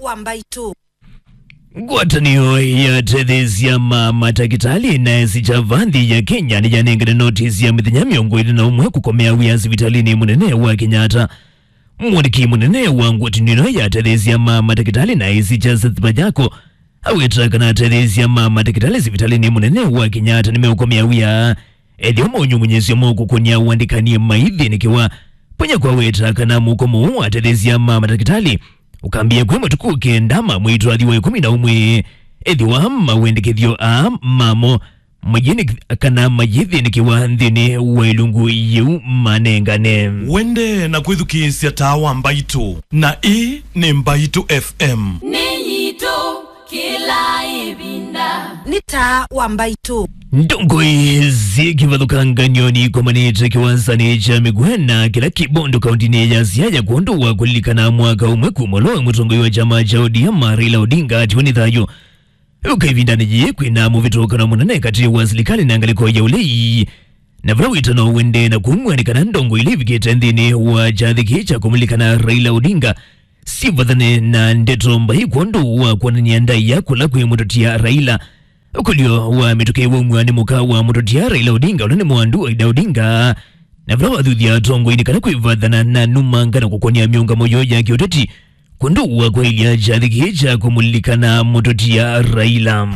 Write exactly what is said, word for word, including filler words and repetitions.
wa Mbaitũ. Ngwatanĩo ya atetheesya ma matakĩtalĩ na esi kya va nthĩ ya Kenya nĩyanengane notisi ya mĩthenya mĩongo ĩlĩ na ũmwe kũkomea wĩa sivitalĩnĩ mũnene wa Kenyatta. Mwandĩki mũnene wa ngwatanĩo ĩno ya atetheesya ma matakĩtalĩ na esi kya Seth Panyako aweta kana atetheesya ma matakĩtalĩ sivitalĩnĩ mũnene wa Kenyatta nĩmeũkomea wĩa ethĩwa maũnyũmũnyĩsyo ma ũkũkũnĩa ũandĩkani maithĩnĩkĩwa. Panyako aweta kana mũkomo ũũ wa atetheesya ma matakĩtalĩ ũkambĩĩa kwĩ matukũ kenda ma mwei twathi wa ĩkũmi na ũmwe, ethĩwa mawendekethyo aa mamo mayĩnĩ-, kana mayĩthĩnĩkĩwa nthĩnĩ wa ĩlungu yĩu manengane. Wende na kwĩthukĩĩsya Taa wa Mbaitũ, na ĩĩ nĩ Mbaitũ F M. Nĩ yitũ kĩla ĩvinda. Nĩ Taa wa Mbaitũ. Ndongoi syĩ kĩvathũkanganyo nikomanĩte kĩwanzanĩ kya Migwena kĩla kĩ Bondo kauntinĩ ya Siaya kwondũ wa kũlilikana mwaka ũmwe kuma ũla mũtongoi wa kyama kya O D M Raila Odinga atiwe nĩ thayũ. Ũka ĩvindanĩ yĩĩ kwĩna mũvĩtũkano mũnene katĩ wa silikalĩ na ngalĩko ya ũlei, na vala wĩtano ũendee na kumw'a nĩ kana ndongoi ila ivikĩte nthĩnĩ wa kyathĩ kĩĩ kya kũmũlilikana Raila Odinga sivathane na ndeto mbai kwondũ wa kwonany'a ndaĩa kũla kwĩ mũtũtia Raila. Ũkũlyo wa mĩtũkĩ waumw'a nĩ mũka wa mũtũtia Raila Odinga ũla nĩ Mwandu Aida Odinga, na vala wathuthya atongoi nĩ kana kwĩvathana na numanga na kũkonia mĩũngamo yoo ya kĩũteti kwondũ wa kwaĩlya kyathĩ kĩĩ kya kũmũlilikana mũtũtia Raila.